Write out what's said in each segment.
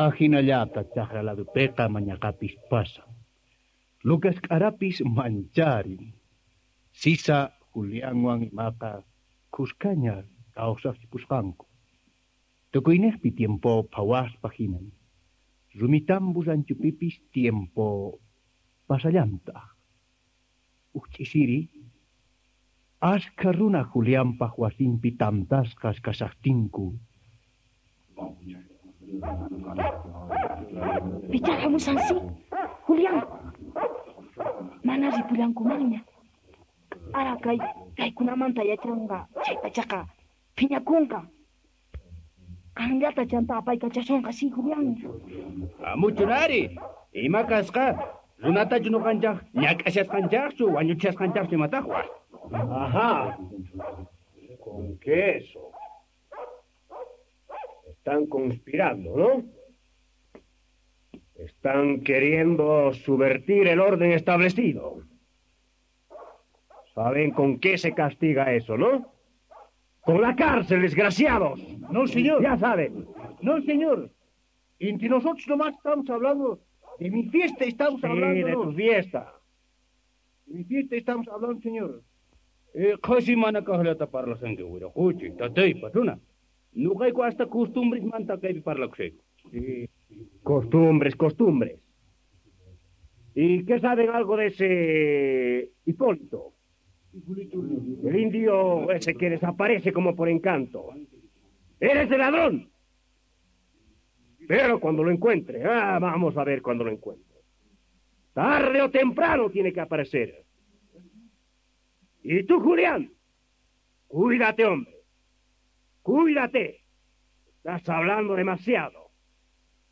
Ajinallata chajra ladopeqa mañaqapis pasan. Lucas k'arapis mancharin. Sisa Julianwan imaqa khuskaña kawsaqchipusqanku. Tukuynejpi tiempo phawaspa hinan. Rumitambu ranchupipis tiempo pasallantaq. Uj ch'isiri ashkha runa Julianpaq wasinpi tantasqas kashaqtinku. Pichá hamushansi, Julián. Mana ripullankumanña. Ara kay kaykunamanta yachanqa chay pachaqa phiñakunqa. Qanllata chanta apaykachasonqa si, Julián. Amuchunari, ima kasqa? Runatachu nuqanchaq ñak'ashasqanchaqchu, wañuchasqanchaqchu imataqwa. Ajá. Con queso. Están conspirando, ¿no? Están queriendo subvertir el orden establecido. ¿Saben con qué se castiga eso, no? Con la cárcel, desgraciados. No, señor. Ya saben. No, señor. Entre nosotros nomás estamos hablando de mi fiesta, estamos Sí, hablando. de tu fiesta. De mi fiesta estamos hablando, señor. Qhasi mana kaqllata parlashanki wiraquchi, tatay, patrona. Nuqayku hasta costumbresmanta kaypi parlakushayku. Sí. Costumbres, costumbres. ¿Y qué saben algo de ese Hipólito? El indio ese que desaparece como por encanto. ¡Eres el ladrón! Pero cuando lo encuentre, vamos a ver cuando lo encuentre. Tarde o temprano tiene que aparecer. Y tú, Julián, cuídate, hombre. Cuídate. Estás hablando demasiado.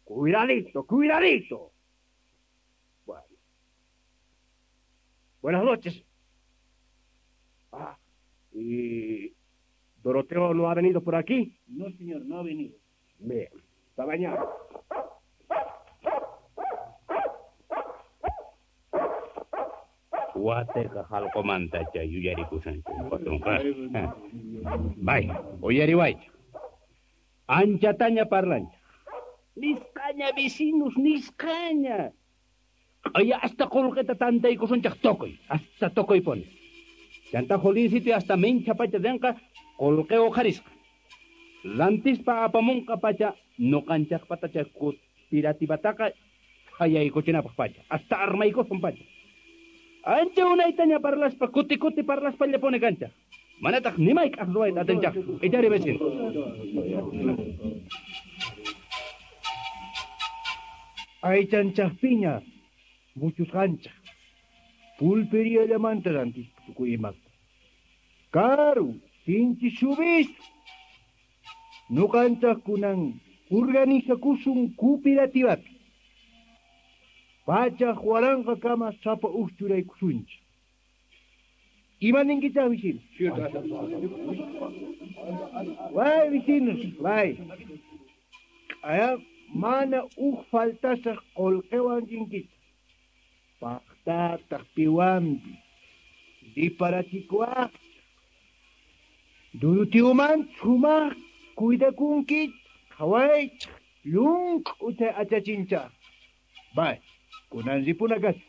Cuidadito, cuidadito. Bueno. Buenas noches. Ah, ¿y Doroteo no ha venido por aquí? No, señor, no ha venido. Bien, está bañado. Wateqa hallq'umantacha yuyarikushanchik patronqa. Bay, uyariwaychik. Anchataña parlanchik. Nisqaña vecinos, nisqaña. Q'aya hasta qullqita tantaykusunchik tukuy, hasta tukuy puni. Chanta Juliancito hasta mincha pacha rinqa qullqi uqharisqa. Rantispa apamunqa pacha nuqanchaqpatacha cooperativataqa hayaykuchinapaq pacha, hasta armaykusun pacha. Ancha unaytaña parlaspa, kuti kuti parlaspa llapuni kanchaq. Manataq nimayk'aq ruwayta atinchaqchu. Ichari vecino. Aychanchaqpiña muchusqanchaq. Pulperiallamanta rantispa tukuy imata. Karu, sinchi subistu. Nuqanchaq kunan organizakusun cooperativapi. Pachaq waranqa kama sapa uj churaykusunchik. Ima ninkichaq vecinos? Way vecinos, way. Q'aya mana uj faltasaq qullqiwan rinkichaq. Paqtataq piwanpi riparachikuwaqchaq. Durutiuman sumaq cuidakunkichik, qhawaychik, llunk'uta achachinchaq. Bay, kunan ripuna kashan.